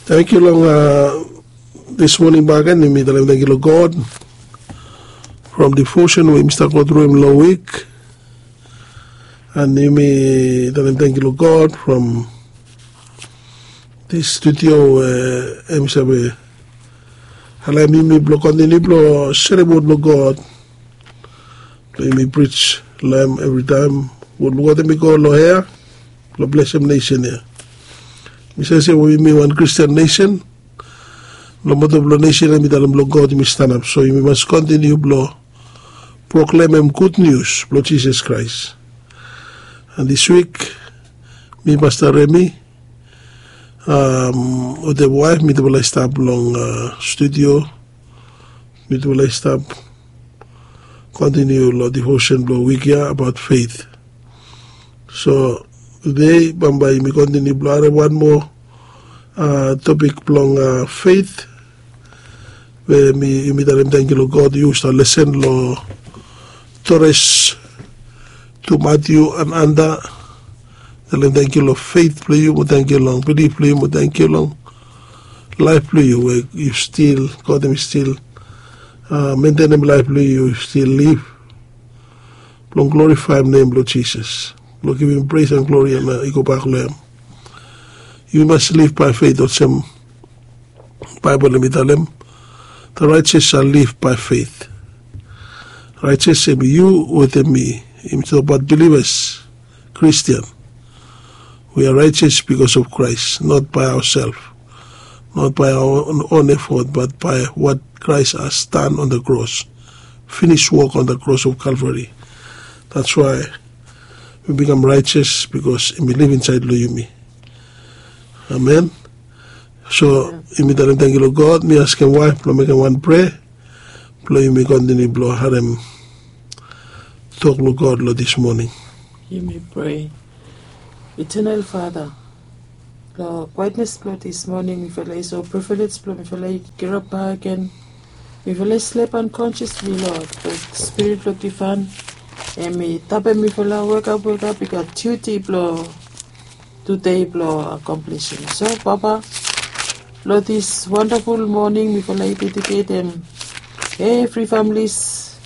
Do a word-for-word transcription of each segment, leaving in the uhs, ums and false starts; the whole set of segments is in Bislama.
Tangkiu long dis moning bagen, yumi talem tangkiu long God from devotion we yumi stap go tru hem long wik. And yumi talem tangkiu long God from dis studio we hem save alaem yumi blong kontiniu blong serem wod blong God. Blong yumi prij long hem evritaem. Wod blong God hemi go long hea blong blesem nesen ya. Mi save se we yumi wan Kristian nesen. Long moto blong nesen ya mi talem blong God yumi stanap, so yumi mas kontiniu blong proklemem gud nius blong Jisas Kraes. And dis wik mi, Pasta Remi, wetem waef mitufala i stap long studio. Mitufala i stap kontiniu long devotion blong wik ya abaot feit. So tede bambae yumi kontiniu blong harem wan moa topik blong feit, we yumi talem tangkiu long God. Yu stap lesen long Tores, Tu Matiu and Anda. Talem tangkiu long feit blong yu mo tangkiu long bilif blong yu mo tangkiu long laef blong yu we yu stil, God hemi stil mentenem laef blong yu, yu stil liv blong glorifaem nem blong Jisas, blong givim pres and glori and i gobak long hem. Yu mas liv bae feit olsem Baebol hemi talem, the righteous shall live by faith. Righteous hemi yu wetem mi. Hemi tokbaot bilivas, Kristian. We are righteous because of Christ, not by ourself, not by our own effort, but by what Christ has done on the cross, finished work on the cross of Calvary. That's why we become righteous, because hemi liv insaed long yumi. Amen. So yumi talem tangkiu long God. Mi askem waef blong mekem wan prea blong yumi kontiniu blong harem tok blong God long dis moning. Yumi prea. Eternal Father, long kwaetnes blong dis moning mifala i so privilege blong mifala i kirap bakegen. Mifala i slep unconsciously, Lord, bat Spirit blong Divaen hemi tapem mifala wekap wekap. I gat duty blong tede blong akomplisim. So Papa, long dis wandaful moning mifala i dediketem evri familis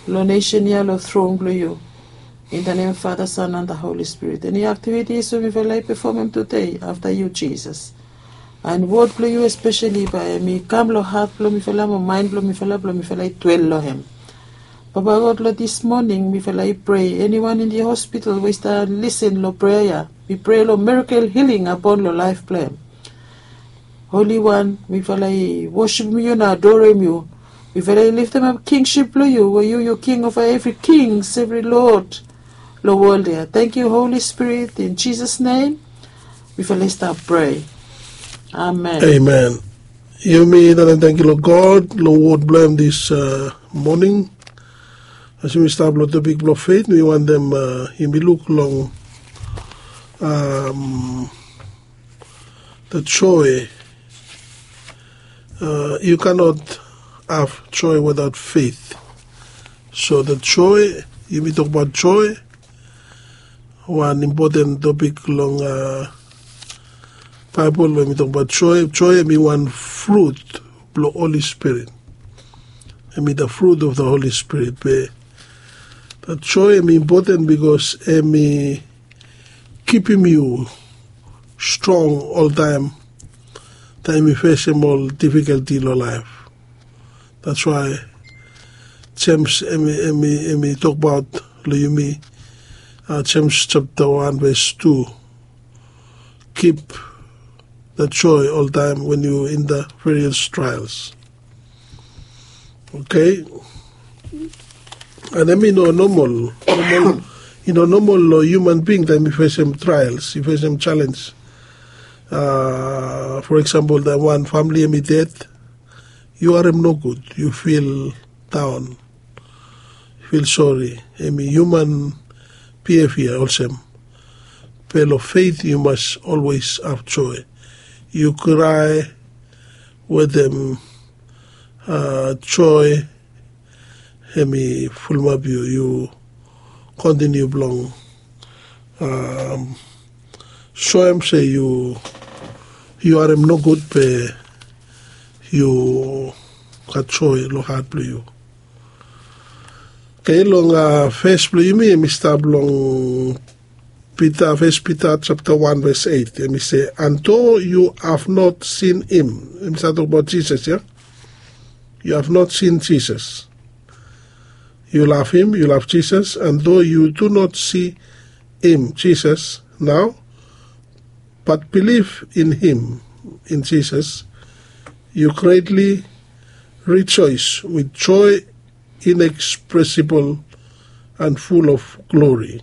long nesen ya long tron blong yu. In the name of Father, Son and the Holy Spirit. Eni aktivitis we mifala i pefomem tede, afta yu Jisas. And wod blong yu espeseli bae hemi kam long hat blong mifala mo maen blong mifala blong mifala i dwel long hem. Papa God, long dis moning mifala i prea, eniwan in the hospital we i stap lisen long prea ya, mi prea long mirakel hiling apon long laef blong hem. Holi Wan, mifala i wosipem yu na adorem yu. Mifala i liftemap kingsip blong yu, we yu yu king ova evri kings, evri lod long wol ya. Tangkiu Holi Spirit, in Jisas nem mifala i stap prea. Amen. Amen. Yumi talem tangkiu long God long wod blong hem dis moning. As yumi stap long topik blong feit, mi wantem yumi luk long the joy. You cannot have joy without faith. So the joy, yumi tokbaot joy, wan impoten topik long Baebol we yumi tokbaot joy. Joy hemi wan frut blong Holi Spirit. Hemi the fruit of the Holy Spirit. Be the joy hemi impoten bikos hemi kipim yu strong oltaem, taem yu fesem ol difikalti long laef. That's why Jems hemi tokbaot long yumi, Jems japta wan ves tu, keep the joy oltaem when you in the various trials. Okay. And hemi no nomol. I no nomol long human being taem i fesem trials, i fesem challenge. For example, taem wan famili hemi ded, yu harem nogud, yu fil daon, fil sori. Hemi human behavior olsem. Be long feit yu mas olwes have joy. Yu krae wetem joy, hemi fulumap yu, yu kontiniu blong soem se yu yu harem nogud be yu gat joe long hat blong yu. Oke, long fes blong yumi em i stap long Pita, fes Pita japta wan ves eit, em i se, and though you have not seen him, em i stap tokbaot Jisas ya. You have not seen Jesus. You love him, you love Jesus, and though you do not see him, Jesus, now, but believe in him, in Jesus, you greatly rejoice with joy inexpressible and full of glory.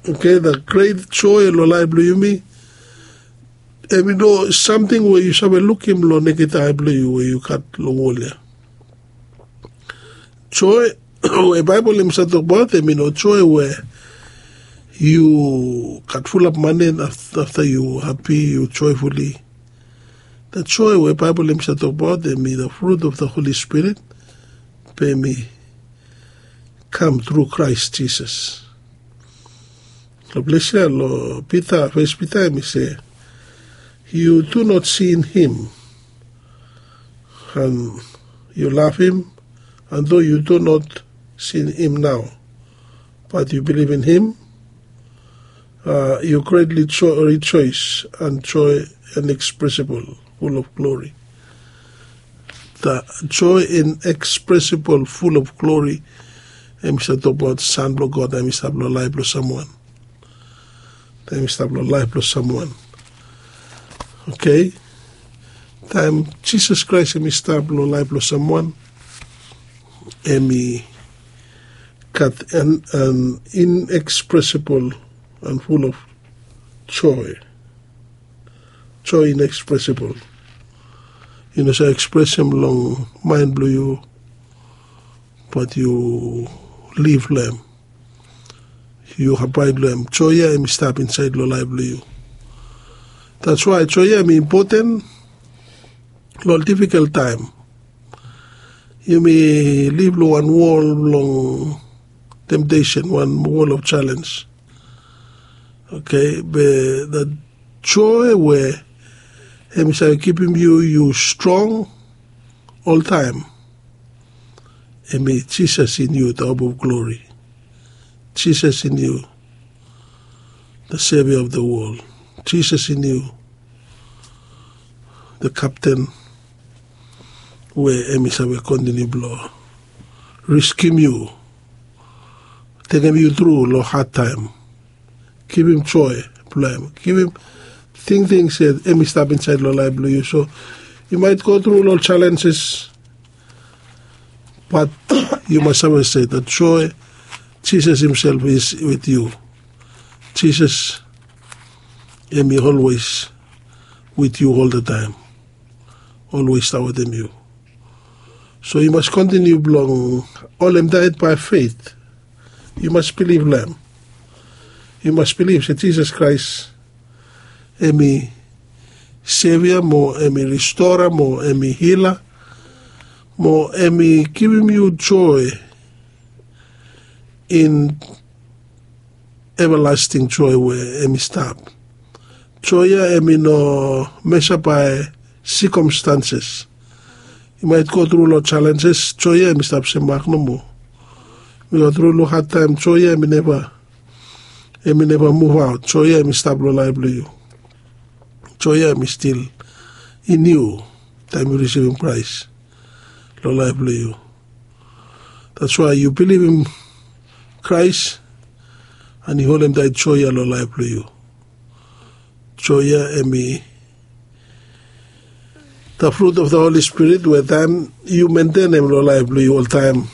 Oke, the great joe long laef blong yumi, em i no samting we yu save lukim long neked ae blong yu we yu gat long wol ya. Joe we Baebol em i save tokbaot em i no joe we yu gat fulap mane, afta yu hapi, yu joefuli. The joe we Baebol em i save tokbaot em i the fruit of the Holy Spirit, be em i kam tru Kraes Jisas. Long ples ya long Pita, fes Pita em i se, you do not see in him, and you love him, and though you do not see him now, but you believe in him, uh, you greatly jo- rejoice and joy inexpressible, full of glory. The joy inexpressible, full of glory, em i save tokbaot san blong God em i stap long laef blong samwan. Taem i stap long laef blong samwan. Oke, taem Jisas Kraes em i stap long laef blong samwan, em i gat an, an inexpressible and full of joy. Joy inexpressible. Yu no save ekspresem long maen blong yu, bat yu liv long em. Yu abaed long em. Joe ya em i stap insaed long laef blong yu. That's why joe ya em i impoten long ol difikol taem. Yumi liv long wan wol blong temtesen, wan wol of jalenj. Oke, be that joe we em i save kipim yu, yu strong oltaem, em i Jisas in yu, the hope of glory. Jisas in yu, the Savior of the world. Jisas in yu, the Captain we em i save kontiniu blong riskim yu, tekem yu tru long had taem. Givim joe blong em, givim tingting se em i stap insaed long laef blong yu. So yu maet go tru long jalenjes, bat yu mas save se that joe, Jisas himself is with yu. Jisas em i olwes with yu oltaem, olwes stap wetem yu. So yu mas kontiniu blong holem taet by faith. Yu mas bilif long em. Yu mas bilif se Jisas Kraes em i Sevia, mo em i Ristora, mo em i Hila, mo em i givim yu joe in evalasting joe we em i stap. Joe ya em i no mesa bae sikomstanses. Yu maet go tru long jalenjes, joe ya em i stap semak nomo. Yu go tru long had taem, joe ya em i neva, em i neva muvaot. Joe ya em i stap long laef blong yu. Joe ya em i stil in yu taem yu risivim Kraes long laef blong yu. That's why yu bilivim Kraes, and yu holem taet joe ya long laef blong yu. Joe ya em i the fruit of the Holy Spirit we taem yu mentenem long laef blong yu oltaem,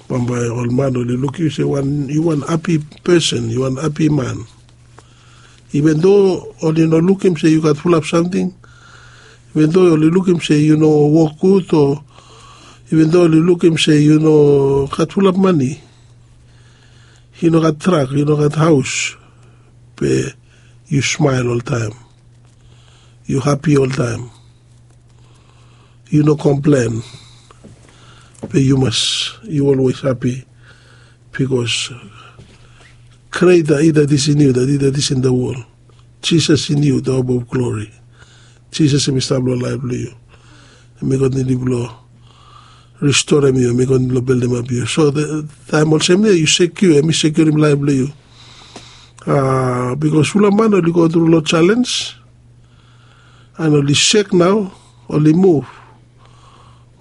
bambae ol man oli lukim yu se yu wan hapi pesen, yu wan hapi man. Iven do oli no lukim se yu gat fulap samting, iven do oli lukim se yu no wok gud, o iven do oli lukim se yu no gat fulap mane, yu no gat trak, yu no gat haos, be yu smael oltaem. Yu hapi oltaem. Yu no komplen. Be yu mas, yu olwes hapi, bikos greta i that is in yu that i that is in the world. Jisas in yu, the hope of glory. Jisas em i stap long laif blong yu. Em i kontiniu blong ristorem yu, em i kontiniu blong beldemap yu. So taem olsem ya yu sekiu, em i sekiurim laif blong yu. Bikos fulap man oli go tru long selens, an oli sek nao, oli muv,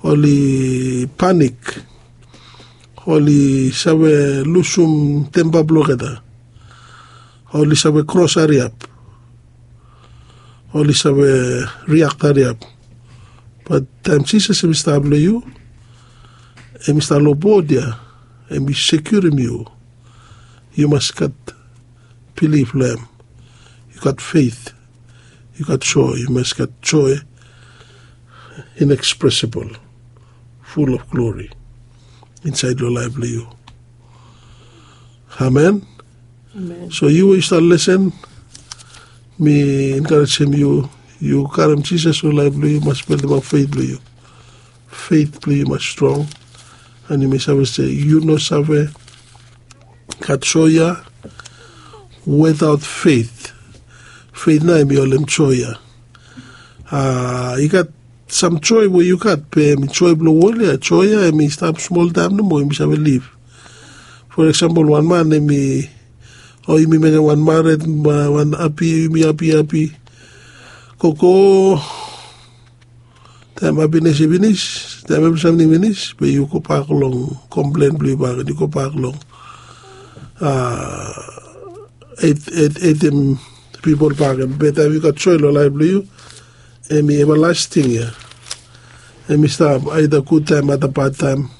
oli panik, oli save lusum tempa blong olgeta, oli save kros hariap, oli save riakt hariap. Bat taem Jisas em i stap long yu, em i stap long bod ya, em i sekiurim yu. Yu mas gat bilif long em. Yu gat feit. Yu gat joe. Yu mas gat joe inexpresibol, ful of glori insaed long laef blong yu. Amen. So yu we yu stap lesen, mi enkarejem yu, yu karem Jisas long laef blong yu, yu mas beldemap feit blong yu. Feit blong yu mas strong. An yu mas save se yu no save gat joe ya wetaot feit. Feit nao em i holem joe ya. I gat sam joe we yu gat, be em i joe blong wol ya. Joe ya em i stap smol taem nomo, em i save lif. For eksempel, wan man em i, o yumi mekem wan mared, wan api, yumi api api, gogo, taem apines i finis, taem evri samting finis, be yu gobak long komplen blong yu bak, yu gobak long etem pipol bak. Be taem yu gat joe long laef blong yu, em i evalasting ya. Em i stap aeda gud taem aeda bad taem.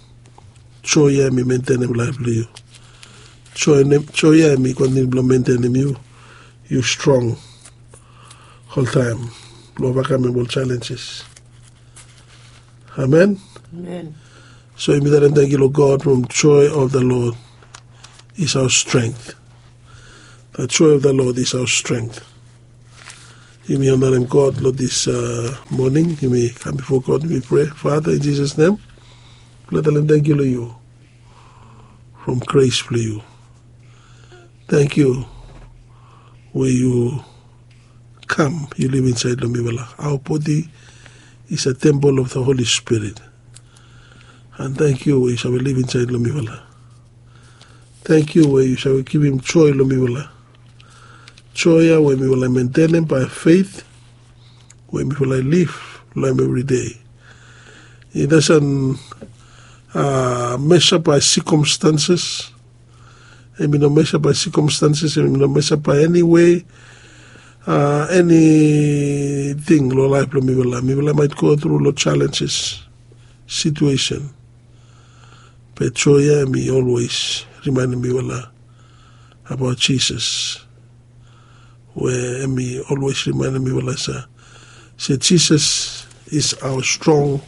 Joe ya em i mentenem laef blong yu. Joe ya em i kontiniu blong mentenem yu, yu strong oltaem blong ovakamem ol jalenjes. Amen. So yumi talem tangkiu long God from joe of the Lord is our strength. The joe of the Lord is our strength. Yumi onarem God long dis moning. Yumi kam bifo God, yumi prea, Fada, in Jisas nem, mifala talem tangkiu long yu from gres blong yu. Tangkiu we yu kam, yu liv insaed long mifala. Aoa bodi is a tempol of the Holi Spirit. An tangkiu we yu save liv insaed long mifala. Tangkiu we yu save givim joe long mifala. Joe ya we mifala i mentenem bae feit, we mifala i liv long em evride. I dasen mesap bae sikomstanses. Em i no mesap bae sikomstanses, em i no mesap bae eni wei, eniting long laef blong mifala. Mifala maet gotru long jalenjes, situesen, be joe ya em i olwes rimaenem mifala abaot Jisas, we em i olwes rimaenem mifala se Jisas is aoa strong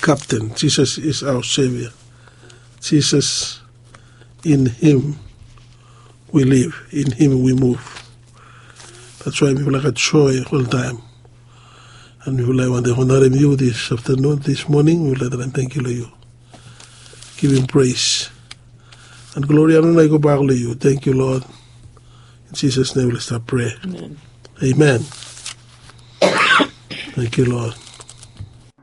kapten. Jisas is aoa sevia. Jisas, in him we liv, in him we muv. That's why mifala gat joe oltaem. An mifala i wantem onarem yu dis aftanun, dis moning, mifala talem tangkiu long yu. Givim pres an glori, anona i gobak long yu. Tangkiu Lod. In Jisas nem mifala stap prea. Amen. Tangkiu Lod.